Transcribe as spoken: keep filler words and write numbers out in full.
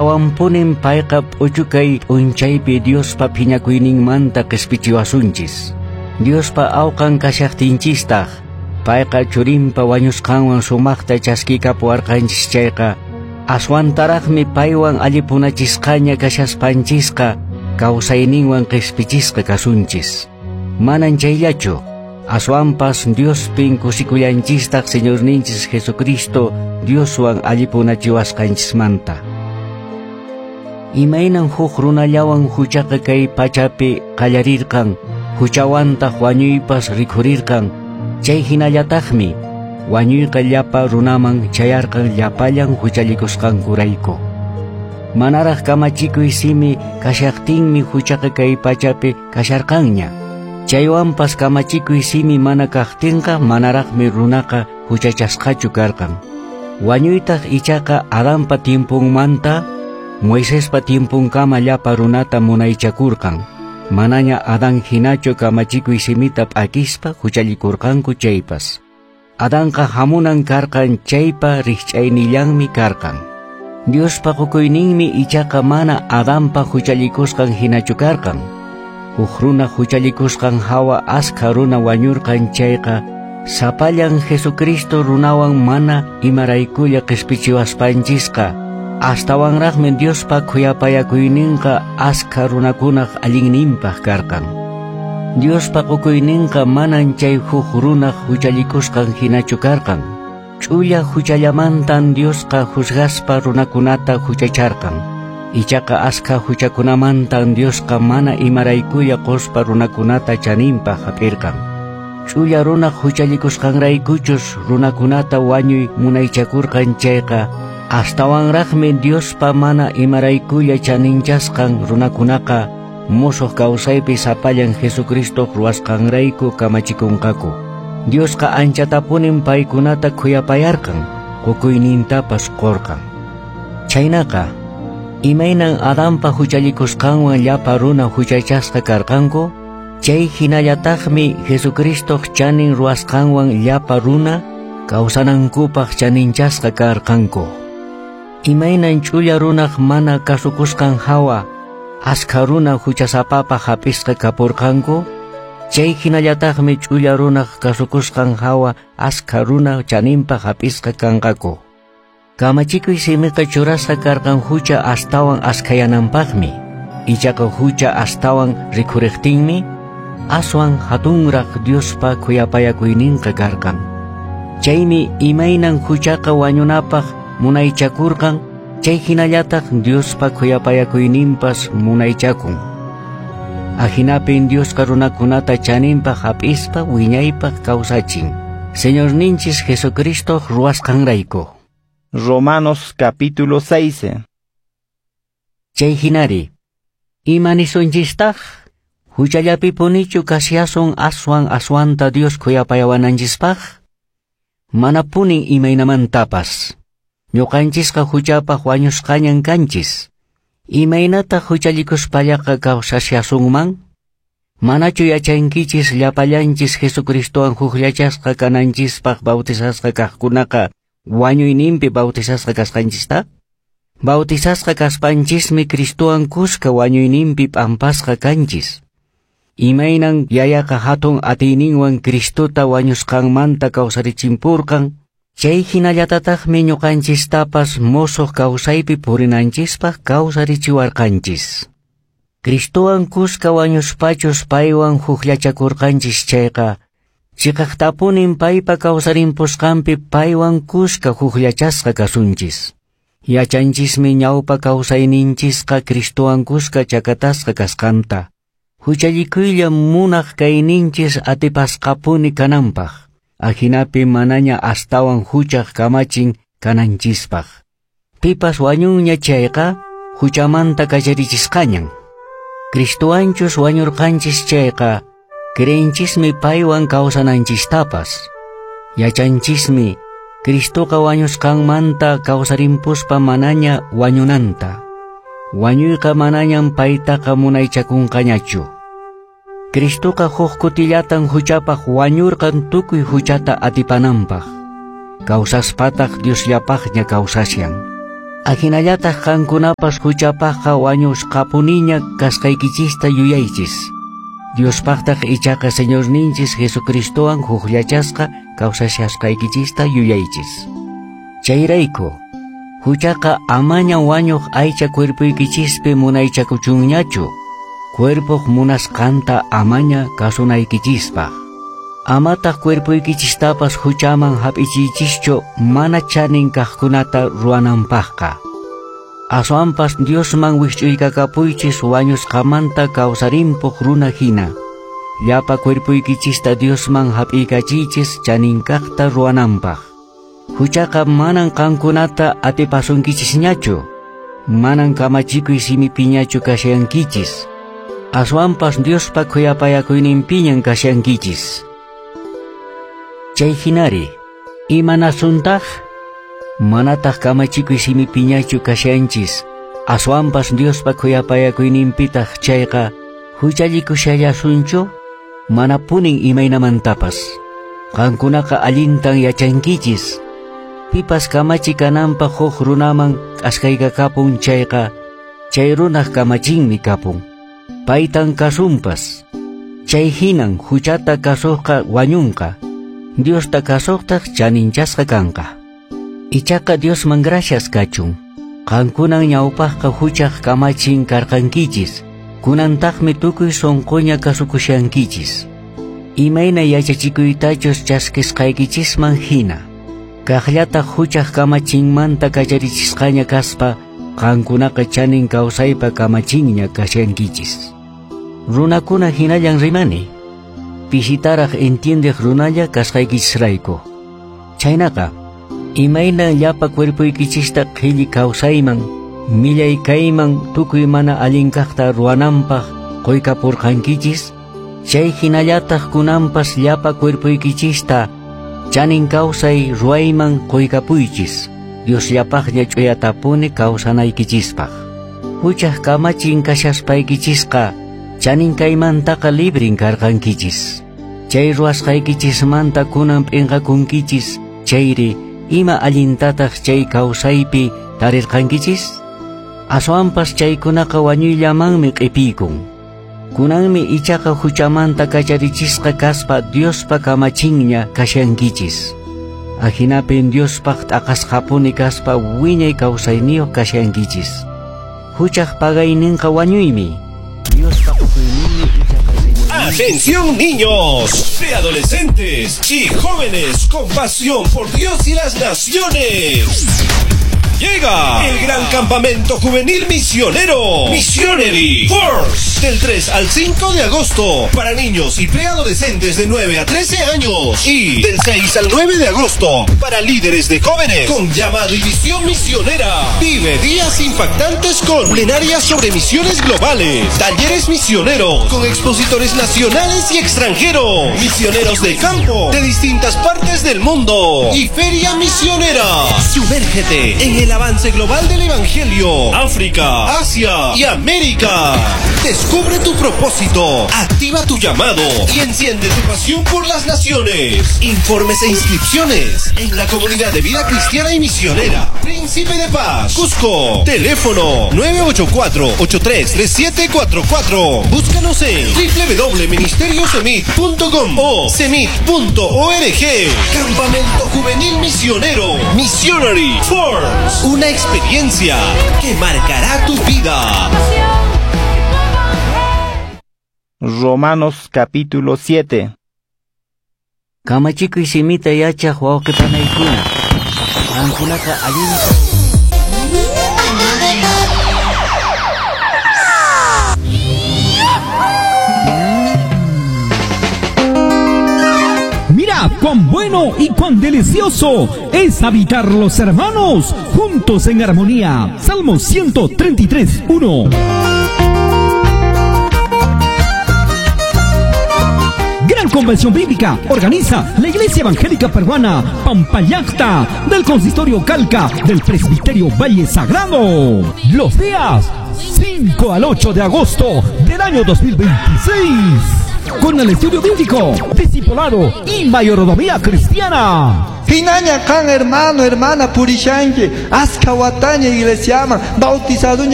Awampunin payqa p'uchukay p'unchaypi Diospa phiñakuyninmanta qispichiwasunchis. Diospa awqan kashaqtinchistaq, payqa churinpa wañusqanwan sumaqta chaskikapuwarqanchis chayqa, aswantaraqmi paywan allipunachisqaña kashaspanchisqa kawsayninwan qispichisqa kasunchis. Manan chayllachu, aswanpas Diospin kusikullanchistaq Señorninchis Jesucristo Dioswan allipunachiwasqanchismanta. Imaynan huk runallawan huchaqa kay pachapi qallarirqan, huchawantaq wañuypas rikhurirqan, chay hinallataqmi wañuyqa llapa runaman chayarqan llapallan huchallikusqankurayku. Manaraq kamachikuy simi kashaqtinmi huchaqa kay pachapi kasharqanña. Chaywanpas kamachikuy simi mana kaqtinqa manaraqmi runaqa huchachasqachu karqan. Wañuytaq ichaqa Adanpa tiemponmanta Moisespa tiemponkama llapa runata munaychakurqan. Manaña Adán hinachu kamachikuy simita p'akispa huchallikurqanku chaypas. Adanqa hamunan karqan chaypa rikch'aynillanmi karqan. Diospa qukuyninmi ichaqa mana Adanpa huchallikusqan hinachu karqan. Huk runa huchallikusqan hawa askha runa wañurqan chayqa, sapallan Jesucristo runawan mana imaraykulla qispichiwaspanchisqa, astawanraqmi Diospa khuyapayakuyninqa askha runakunaq allinninpaq karqan. Diospa qukuyninqa manan chay huk runaq huchallikusqan hinachu karqan. Ch'ulla huchallamantan Diosqa juzgaspa runakunata huchacharqan. Ichaqa askha huchakunamantan Diosqa mana imaraykulla quspa runakunata chaninpaq hap'irqan. Ch'ulla runaq huchallikusqanraykuchus runakunata wañuy munaychakurqan chayqa, astawanraqmi Diospa mana imaraykulla chaninchasqan runakunaqa musuq kawsaypi sapallan Jesucristo ruwasqanrayku kamachikunqaku. Diosqa anchatapunin paykunata khuyapayarqan, qukuynintapas qurqan. Chaynaqa, imaynan Adanpa huchallikusqanwan llapa runa huchachasqa karqanku, chay hinallataqmi Jesucristoq chanin ruwasqanwan llapa runa kawsanankupaq chaninchasqa karqanku. Imaynan ch'ulla runaq mana kasukusqan hawa askha runa huchasapapaq hap'isqa kapurqanku, chay hinallataqmi ch'ulla runaq kasukusqan hawa askha runa chaninpaq hap'isqa kanqaku. Kamachikuy simiqa churasqa karqan hucha astawan askhayananpaqmi, ichaqa hucha astawan rikhuriqtinmi aswan hatunraq Diospa khuyapayakuyninqa karqan. Chaymi imaynan huchaqa wañunapaq munaychakurqan, chay hinallataq Diospa khuyapayakuyninpas munaychakun. Ahinapin Diosqa runakunata chaninpaq hap'ispa wiñaypaq kawsachin. Señorninchis Jesucristo ruwasqanrayku. Romanos capítulo seis. Chay hinari, ima nisunchistaq? Huchallapipunichu kashasun aswan aswanta Dios khuyapayawananchispaq? Manapunin imaynamantapas. Ñuqanchisqa huchapaq wañusqañan kanchis. Imaynataq huchallikuspallaqa kawsashasunman? Manachu yachankichis llapallanchis Jesucristowan hukllachasqa kananchispaq bautizasqa kaqkunaqa wañuyninpi bautizasqa kasqanchista? Bautizasqa kaspanchismi Cristowan kuska wañuyninpi p'ampasqa kanchis. Imaynan yayaqa hatun atiyninwan Cristota wañusqanmanta kawsarichimpurqan, chay hinallatataqmi ñuqanchistapas musuq kawsaypi purinanchispaq kawsarichiwarqanchis. Cristowan kuska wañuspachus paywan hukllachakurqanchis chayqa, chiqaqtapunin paypa kawsarimpusqanpi paywan kuska hukllachasqa kasunchis. Yachanchismi ñawpa kawsayninchisqa Cristowan kuska chakatasqa kasqanta. Huchallikuylla munaq kayninchis atipasqapuni kananpaq. Ajinapi manaña astawan huchaq kamachin kananchispaq. Pipas wañunña chayqa huchamanta kacharichisqañan. Cristowanchus wañurqanchis chayqa creenchismi paywan kawsananchistapas. Yachanchismi Cristoqa wañusqanmanta kawsarimpuspa manaña wañunanta. Wañuyqa manañan paytaqa munaychakunqañachu. Cristoqa huk kutillatan huchapaq wañurqan tukuy huchata atipananpaq. Kawsaspataq Diosllapaqña kawsashan. Ahinallataq qankunapas huchapaqqa wañusqapuniña kasqaykichista yuyaychis. Diospaqtaq ichaqa Señorninchis Jesucristowan hukllachasqa kawsashasqaykichista yuyaychis. Chayrayku, huchaqa amaña wañuq aycha cuerpoykichispi munaychakuchunñachu, cuerpoq munasqanta amaña kasunaykichispaq. Amataq cuerpoykichistapas huchaman hap'ichiychischu mana chanin kaqkunata ruwananpaqqa. Aswanpas Diosman wikch'uykakapuychis wañusqamanta kawsarimpuq runa hina. Llapa cuerpoykichista Diosman hap'iykachiychis chanin kaqta ruwananpaq. Huchaqa manan qankunata atipasunkichishñachu, manan kamachikuy simipiñachu kashankichis. Aswanpas Diospa khuyapayakuyninpiñan kashankichis. Chay hinari, imanasuntaq? Manataq kamachikuy simipiñachu kashanchis, aswanpas Diospa khuyapayakuyninpitaq chayqa huchallikushallasunchu? Manapunin imaynamantapas. Qankunaqa allintan yachankichis. Pipas kamachi kananpaq huk runaman k'askaykakapun chayqa, chay runaq kamachinmi kapun. Paytan kasunpas. Chay hinan huchata kasuqqa wañunqa, Diosta kasuqtaq chaninchasqa kanqa. Ichaqa Diosman gracias kachun. Qankunan ñawpaqqa huchaq kamachin karqankichis, kunantaqmi tukuy sunquña kasukushankichis. Imayna yachachikuytachus chaskisqaykichisman hina. Kaqllataq huchaq kamachinmanta kacharichisqaña kaspa, qankunaqa chanin kawsaypa kamachinña kashankichis. Runakuna hinallan rimani, pisitaraq entiendeq runalla kasqaykichisrayku. Chaynaqa, imayna llapa cuerpoykichista qhilli kawsayman, millay kayman tukuy mana allin kaqta ruwananpaq quykapurqankichis, chay hinallataq kunanpas llapa cuerpoykichista chanin kawsay ruwayman quykapuychis, Diosllapaqña ch'uyatapuni kawsanaykichispaq. Huchaq kamachin kashaspaykichisqa chanin kaymantaqa librin karqankichis. Chay ruwasqaykichismanta kunan p'inqakunkichis, chayri ima allintataq chay kawsaypi tarirqankichis? Aswanpas chaykunaqa wañuyllamanmi q'ipiykun. Kunanmi ichaqa huchamanta kacharichisqa kaspa Diospa kamachinña kashankichis. Ahinapin Diospaq t'aqasqapuni kaspa wiñay kawsayniyuq kashankichis. Huchaq pagayninqa wañuymi. Diospa qukuyninmi ichaqa Señorninchis. ¡Atención niños, preadolescentes y jóvenes con pasión por Dios y las naciones! Llega el gran campamento juvenil misionero Missionary Force del tres al cinco de agosto para niños y preadolescentes de nueve a trece años y del seis al nueve de agosto para líderes de jóvenes con llamado y visión misionera. Vive días impactantes con plenarias sobre misiones globales, talleres misioneros con expositores nacionales y extranjeros, misioneros de campo de distintas partes del mundo y feria misionera. Sumérgete en el avance global del Evangelio, África, Asia y América. Descubre tu propósito, activa tu llamado y enciende tu pasión por las naciones. Informes e inscripciones en la comunidad de vida cristiana y misionera Príncipe de Paz, Cusco. Teléfono nueve ocho cuatro, ocho tres tres siete cuatro cuatro. Búscanos en doble u doble u doble u punto ministerio semit punto com o semit punto org. Campamento Juvenil Misionero Missionary Force. Una experiencia que marcará tu vida. Romanos capítulo siete. Kamachikuy simita yachaq wawqipanaykuna, qankunaqa allinta Mira cuán bueno y cuán delicioso es habitar los hermanos juntos en armonía. Salmo ciento treinta y tres, uno. Gran Convención Bíblica organiza la Iglesia Evangélica Peruana Pampayacta del Consistorio Calca del Presbiterio Valle Sagrado. Los días cinco al ocho de agosto del año dos mil veintiséis. Con el estudio bíblico, discipulado y mayordomía cristiana. Hinaña qan hermano, hermana purishanki, askha wataña iglesiaman, bautizado.